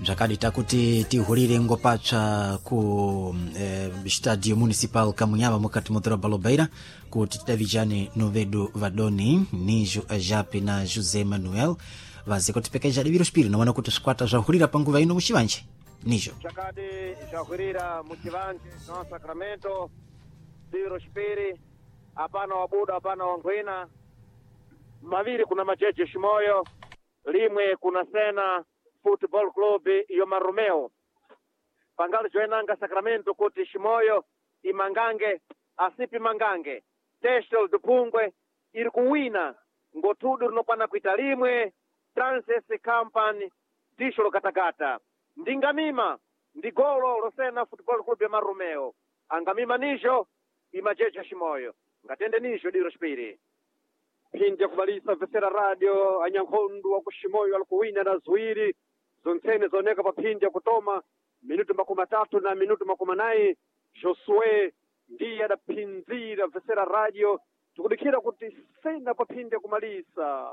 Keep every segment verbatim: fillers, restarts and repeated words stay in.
Bzakadi takuti tihulire ngopapsa ku eh, stadio municipal Kamunhava mukati mu doroba Lobeira kuti tidavijane novedu vadoni Nijo Ajape na José Manuel vaze kutipekeja diviro spiri noona kuti swikwata zwahulira panguva ino muchivanje Nijo. Chakadi zvahwirira muchivanje no Sacramento diro chipiri, hapana wabuda, hapana wangwina, maviri kuna Majeje Shimoyo, limwe kuna Sena Football Club yo Marumeo. Pangali joenanga Sacramento kuti Shimoyo imangange asipi mangange Testel Dupungwe iri kuwina ngotudu rinokwana kuita limwe Transes Company disho lokatakata ndingamima ndi golo losena Football Club ya Marumeo angamima nijo imajeja Shimoyo ngatende nijo diro chipiri. Phindi yakubalisa vesera radio anyankhondu wa kushimoyo alikuwina na ziwiri zontsene zooneka pa phindi yakutoma minutu makumi atatu na minutu makumi anayi. Josue ndiye adaphinzira vesera radio, tikudikhira kuti sena pa phindi yakumalisa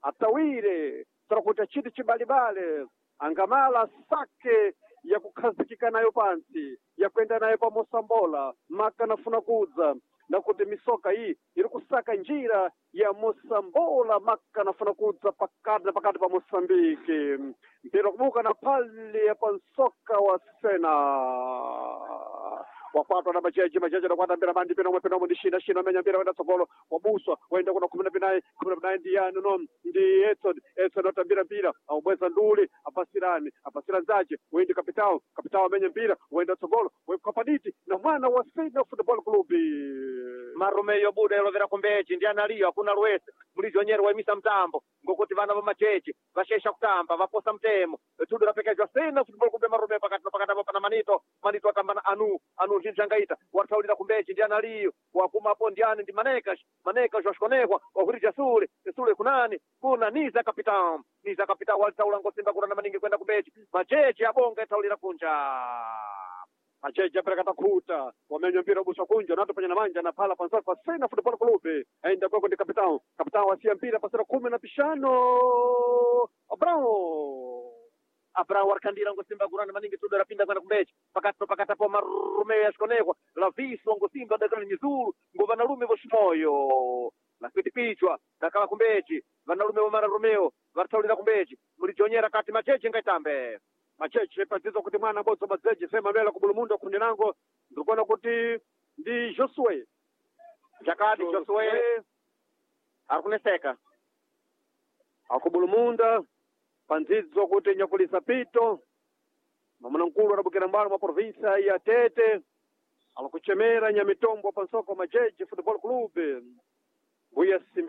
atawire tara kuti achiti chibalibale angamala sake yakukhazikika nayo pantsi yakuenda nayo pa mosambola maka nafuna kudza nakuti misoka iyi iri kusaka njira ya mosambola maka nafuna kudza pakati na pakati pa Moçambique mpira kubuka na pali ya pansoka wa sena wakwatwa na majeji majeji anakwata mpira mandi pina umwe pina umwe ndi shina shina amenya mpira wenda tsogolo wabuswa waenda kuna kumi na pinayi kumi na pinayi ndi yani no ndi Edson Edson atambira mpira aubweza nduli apasirani apasira nzache wendi kapitao kapitao amenya mpira waenda tsogolo wekapaditi na mwana wa Sena Football Club. Marumeyo buda ilovera kumbechi ndi analiyo hakuna lwese mulizonyero waimisa mtambo ngokuti vana va machechi vashesha kutamba vaposa mtemo tudu rapekejwa Sena Football Club ya Marumeyo pakati pakati apo pana Manito Manito atamba na anu anu ndinjangaita wataulira kumbechi ndi analiyo wakumapo ndiani ndi Manekash Manekash washikonekwa wahurija sule sule kunani kuna niza kapitan niza kapitan walitaula ngosimba kurana maningi kwenda kumbechi machechi abonga itaulira kunja. Macheche apereka takhuta wamenya mpira ubuswa kunja nato panya na manja na phala pansoka pa Sena Football Club aenda kweko ndi kapitao kapitao wasiya mpira pasera kumi na pishano Abrao Abraham warikandira ngosimba kurana maningi tudo rapinda kwenda kumbechi pakati no pakati apo Marumeyo yashikonekwa laviswa ngosimba dakala nyizuru ngo vanalume voshimoyo lakwitipichwa dakala kumbechi vanalume vo Marumeo varitaulira kumbechi mulijonyera kati macheche ngaitambe. Macheche padzidzo kuti mwana bodzo madzeje sema mela kubulumundo kundi nango ndikuona kuti ndi Josue Chakati Josue ari kuneseka akubulumunda pandzidzo kuti nyakulisa pito mamuna mkulu adabukira mbalo mwa provinsa ya Tete alikuchemera nyamitombo pansoko Majeje Football Club mbuya simbe.